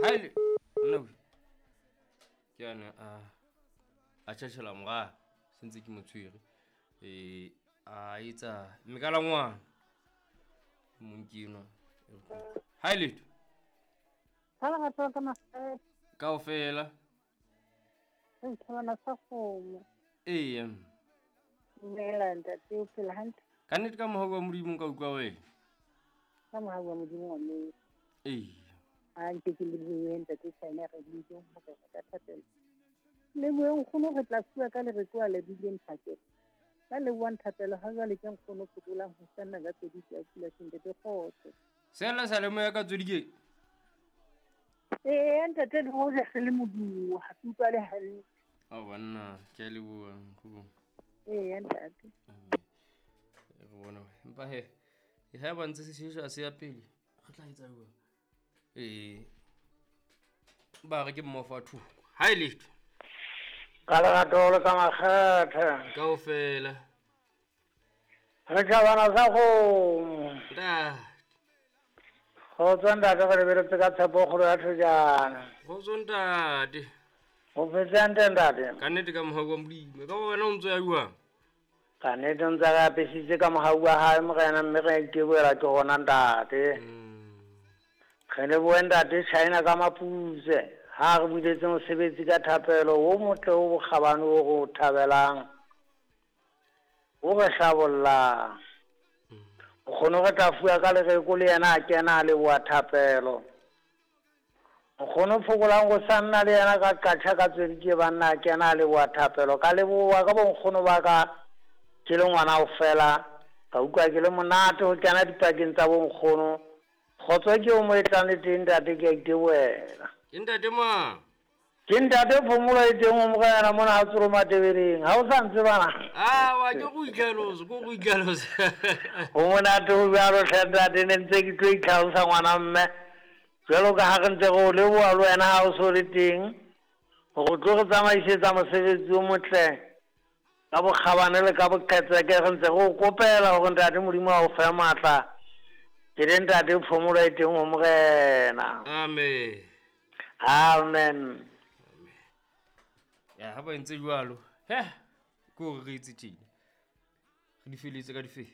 Haele nna we ke ane a a tjhatjhela mora sentse ke mo tshwere a etsa mmekala ngwana mong ke enwa. Ha letho kaofela. Eya. Dumela ntate, o phela hantle? Ka nnete ka mohau wa Modimo nka utlwa wena. Ka mohau wa Modimo wa mme. Eya. A nke ke lebohe ntate China re biditseng hore re ka thapela. Lebohe nkgono re tla fuwa ka lereko a lebileng thapelo. Ka lebohang thapelo ha jwale ke nkgono fokolang ho sanna ka tsweditse ya pula ntate kgotso. Sela sa le moya ka tswedike. Ee ntate le hoja re le modumo ha ke utlwa le hantle. A banna ke a leboha nkgono. Ee ntate. Re bona empa he ha ba ntse se shesha se ya pele re tla etsa jwang? Ba re ke mmofa thoko. Ha e letho. Ka lerato le ka makgethe. Kaofela. Re tjhabana sa kgomo. Ntate. Kgotso ntate, re lebeletse ka tshepo kgolo ya thojana. Kgotso ntate. O phetse hantle ntate? Ka nnete ka mohau wa Modimo. Ka wena o ntso ya jwang? Ka nnete ntse re apesitse ka mohau wa hae morena, mme re itebohela ke hona ntate. Re lebohe ntate China ka maputse ha re buletse mosebetsi ka thapelo o motle o bokgabane o re o thabelang, o re hlabollang. Nkgono re tla fuwa ka lereko le yena a kena a leboha thapelo. Nkgono fokolang go sa nna le yena ka qatjha ka tswedike banna a kena a leboha thapelo. Ka leboha ka bonkgono ba ka ke le ngwana o fela, ka utlwa ke le monate ho kena dipakeng tsa bonkgono. Kgotso ke o mo e tlang le teng ntate, ke a itebohela. Ke ntate mang? Ke ntate Phomolo e teng o morena mona ha tsoro Matebeleng. Ha o sa ntse bana? Ah, wa ke go itlhalosa, go itlhalosa. Ho monate ho jwalo hle ntate, ne ntse ke tlo itlhalosa ngwana mme. Jwalo ka ha re ntse re o leboha le wena ha o so le teng, hore o tlo re tsamaisetsa mosebetsi o motle ka bokgabane le ka boqhetseke. Re ntse re o kopela hore ntate Modimo a o fe matla. Ke le ntate Phomolo e teng ho morena. Amen. Amen. Ya ha ba entse jwalo. He, ke hore re itse tjena. Re di feletse ka di fe.